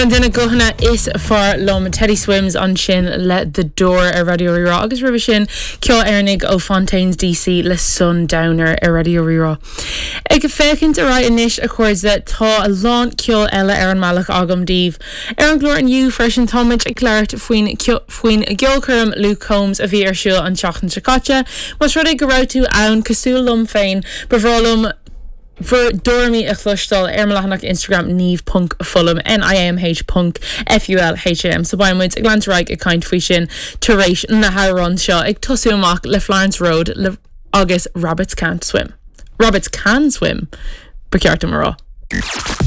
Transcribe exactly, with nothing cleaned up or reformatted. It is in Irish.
Ceann de na guthanna is fearr liom Teddy Swims ansin le The Door ar Raidió Rí-Rá agus roimhe sin ceol Éireannach ó Fontaines DC le Sundowner ar Raidió Rí-Rá. Ag féachaint ar aghaidh anois a chairde tá a lán ceol eile ar an mbealach agam daoibh. Ar an gclár inniu freisin táimid ag labhairt faoin faoin gceolchoirm Luke Combs a bhí ar siúl an tseachtain seo caite, Más rud é go raibh tú ann cosúil liom féin ba bhreá liom bhur dtuairimí a chloisteáil ar mo leathanach Instagram niamh.fulham NIAMH ponc FULHAM so beidh muid ag leanúint ag caint faoi sin tar éis na hamhrán seo ag tosú amach le Florence Road le agus Rabbits Can't Swim. Rabbits can swim ba cheart dom a rá.